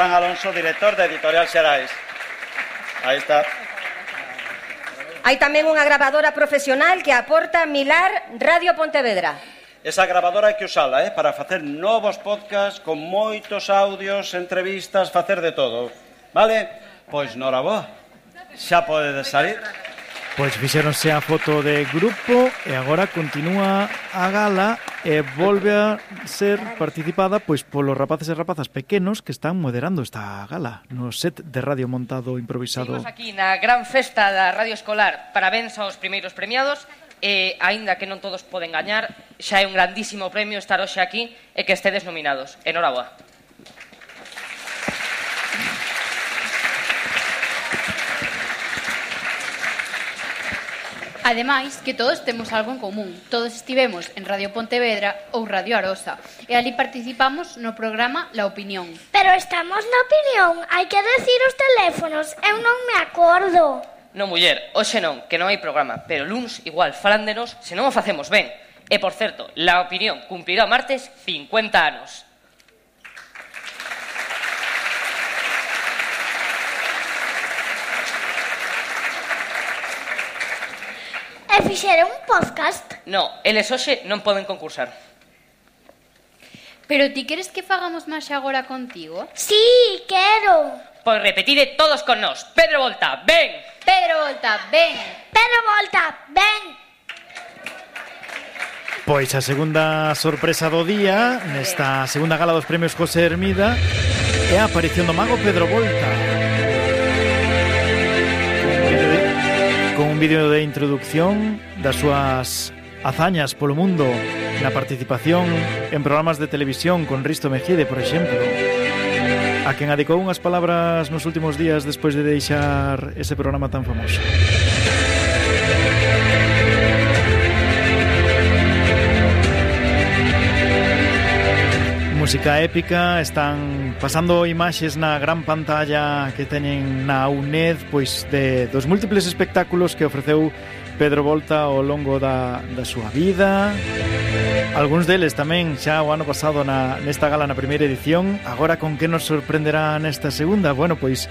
Juan Alonso, director de Editorial Xerais. Aí está. Hai tamén unha grabadora profesional que aporta Milar Radio Pontevedra. Esa grabadora hai que usala, para facer novos podcasts con moitos audios, entrevistas, facer de todo. Vale? Pois norabó. Xa podedes salir. Pois fixéronse a foto de grupo e agora continúa a gala e volve a ser participada pois polos rapaces e rapazas pequenos que están moderando esta gala no set de radio montado improvisado. Seguimos aquí na gran festa da Radio Escolar. Parabéns aos primeiros premiados e, aínda que non todos poden gañar, xa é un grandísimo premio estar hoxe aquí e que estedes nominados. Enhoraboa. Ademais, que todos temos algo en común. Todos estivemos en Radio Pontevedra ou Radio Arosa e ali participamos no programa La Opinión. Pero estamos na opinión, hai que decir os teléfonos, eu non me acordo. Non, muller, hoxe non, que non hai programa, pero luns igual falan de nos se non o facemos ben. E, por certo, La Opinión cumprirá o martes 50 anos. E fixeron un podcast? No, eles hoxe non poden concursar. Pero ti queres que fagamos máis agora contigo? Sí, quero. Pois repetide todos con nós. Pedro Volta, ven! Pedro Volta, ven! Pedro Volta, ven! Pois a segunda sorpresa do día nesta segunda gala dos premios José Hermida é a aparición do mago Pedro Volta. Con un vídeo de introducción das súas hazañas polo mundo na participación en programas de televisión con Risto Mejide, por exemplo, a quen adicou unhas palabras nos últimos días despois de deixar ese programa tan famoso. Música épica, están pasando imaxes na gran pantalla que teñen na UNED pois dos múltiples espectáculos que ofreceu Pedro Volta ao longo da súa vida. Algúns deles tamén xa o ano pasado nesta gala na primeira edición. Agora con que nos sorprenderá nesta segunda? Bueno, pois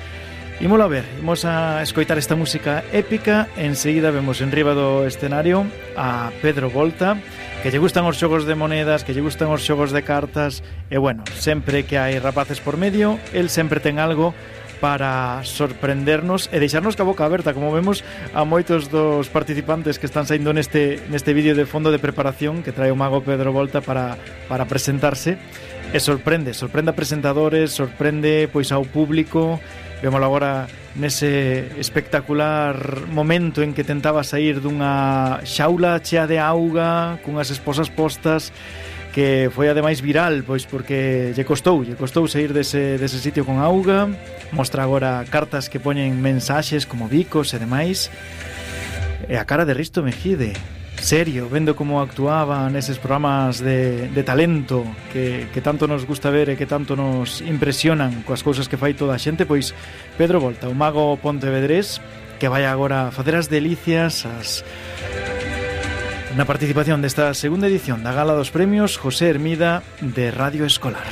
ímolo a ver, imos a escoitar esta música épica. Enseguida vemos en riba do escenario a Pedro Volta, que lle gustan os xogos de monedas, que lle gustan os xogos de cartas, e bueno, sempre que hai rapaces por medio, el sempre ten algo para sorprendernos e deixarnos ca boca aberta, como vemos a moitos dos participantes que están saindo neste vídeo de fondo de preparación que trae o mago Pedro Volta para presentarse, e sorprende a presentadores, sorprende pois ao público. Vémolo agora nese espectacular momento en que tentaba sair dunha xaula chea de auga cunhas esposas postas, que foi ademais viral, pois porque lle costou sair dese sitio con auga. Mostra agora cartas que poñen mensaxes como bicos e demais, e a cara de Risto Mejide, serio, vendo como actuaba neses programas de talento que tanto nos gusta ver e que tanto nos impresionan coas cousas que fai toda a xente. Pois Pedro Volta, o mago pontevedrés, que vai agora facer as delicias na participación desta segunda edición da Gala dos Premios José Hermida de Radio Escolar.